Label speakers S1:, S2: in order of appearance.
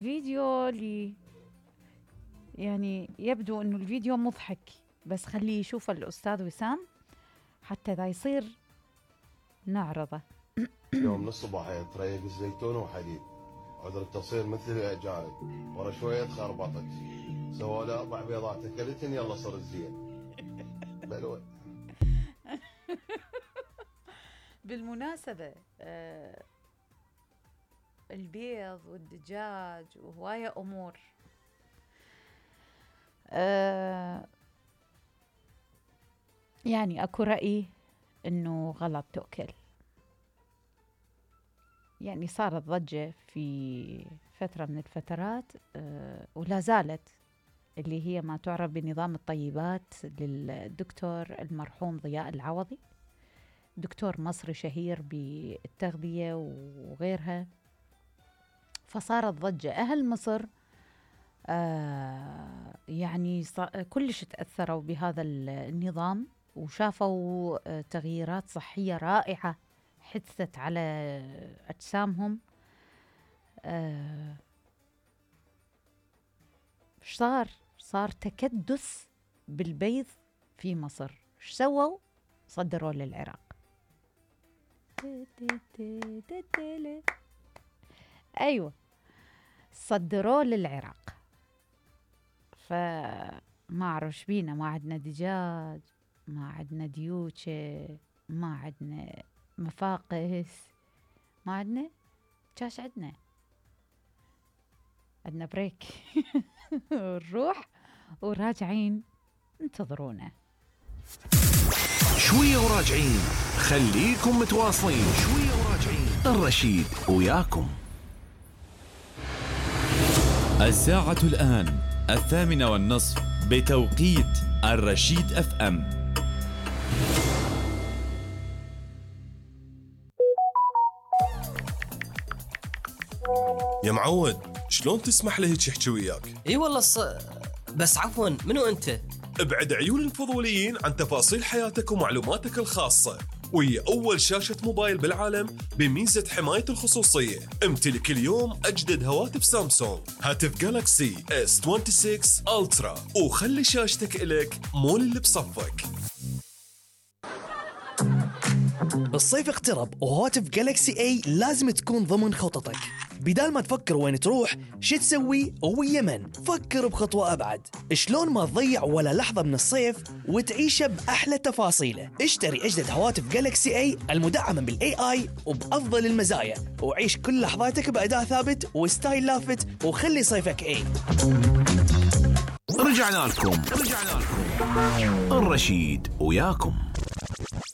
S1: فيديو يعني يبدو انه الفيديو مضحك، بس خليه يشوف الأستاذ وسام حتى ذا يصير نعرضه.
S2: يوم نص الصباح تريق الزيتون وحديد، عذر التصوير مثل الأجانب، ورا شوية خربطت، سوى له 4 بيضات أكلتن، يلا صر الزين. بلوى.
S1: بالمناسبة البيض والدجاج وهواية أمور يعني أكو رأي إنه غلط تؤكل. يعني صارت ضجة في فترة من الفترات ولا زالت، اللي هي ما تعرف بنظام الطيبات للدكتور المرحوم ضياء العوضي، دكتور مصري شهير بالتغذية وغيرها. فصارت ضجة، أهل مصر يعني كلش تأثروا بهذا النظام، وشافوا تغييرات صحية رائعة حدثت على أجسامهم. صار تكدس بالبيض في مصر. ايش سووا؟ صدروا للعراق. أيوة، صدروه للعراق. فما أعرف بينا، ما عندنا دجاج، ما عندنا ديوشة، ما عندنا مفاقس، ما عندنا كاش، عندنا بريك. نروح وراجعين، انتظرونا
S3: شوية وراجعين. خليكم متواصلين، شوية وراجعين. الرشيد وياكم.
S4: الساعة الآن 8:30 بتوقيت الرشيد FM.
S5: يا معود، شلون تسمح له هيك يحكي وياك؟
S6: اي والله بس عفوا، منو انت؟
S5: ابعد عيون الفضوليين عن تفاصيل حياتك ومعلوماتك الخاصة، وهي أول شاشة موبايل بالعالم بميزة حماية الخصوصية. امتلك اليوم أجدد هواتف سامسونج، هاتف جالاكسي S26 ألترا، وخلي شاشتك إلك مول اللي بصفك.
S7: الصيف اقترب وهواتف جالكسي اي لازم تكون ضمن خططك. بدال ما تفكر وين تروح شو تسوي ويا من، فكر بخطوة أبعد. شلون ما تضيع ولا لحظة من الصيف وتعيشه بأحلى تفاصيله. اشتري أجدد هواتف جالكسي اي المدعمة بالاي اي وبأفضل المزايا، وعيش كل لحظاتك بأداء ثابت وستايل لافت، وخلي صيفك اي.
S3: رجعنا لكم الرشيد وياكم.